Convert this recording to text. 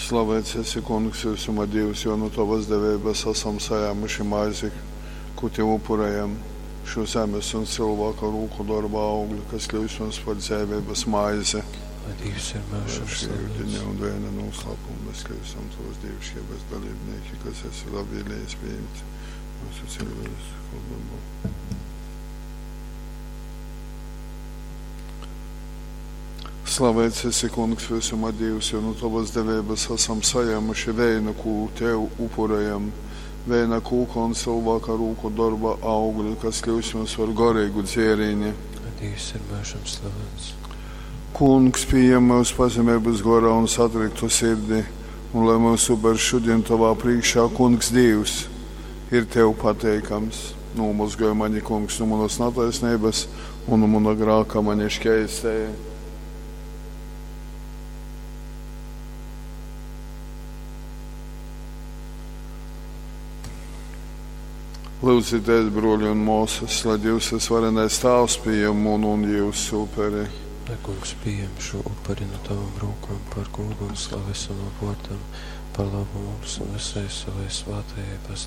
Slavēts esi, Kungs, visuma Dīvs, jo nu tovas deveibas asam sajēmuši maizi, kū tev upurējam, šo zemes un cilvēka rūku dorba augli, kas kļūst mums par dzeiveibas maizi. Lai Dīvs ir myužam Šī slavēts. yudiņa un vēna noslēpuma mēs kļūstam tavas dievišķības dalībnieki, kas esi labvēlīgs pieņemt mūsu cilvēcisko dabu. Slavēts esi, Kungs, visuma Dievs, jo no tavas deveibas esam saņēmuši vēnu, kū tev upurējam, vēna kūka un cilvēka rūku darba augļi, kas kļūs mums par garīgu dzērieni. Lai Dievs ir myužam slavens. Kungs, pieņem mūsu pazemības gorā un satriktu sirdi, un lai mūsu upers šodien tavā priekšā, Kungs Dievs, ir tev pateikams. Nomazgāj mani, Kungs, no manas netaisnības un no mana grāka mani šķēstēja. Lūdzieties, broļi un māsas, lai Dievs ir varenais Tēvs pieņem manu un jūsu uperi. Lai kungs pieņem šo upuri no tavām rokām par godu un slavu savam vārdam, par labu mums un visai savai svētajai baznīcai.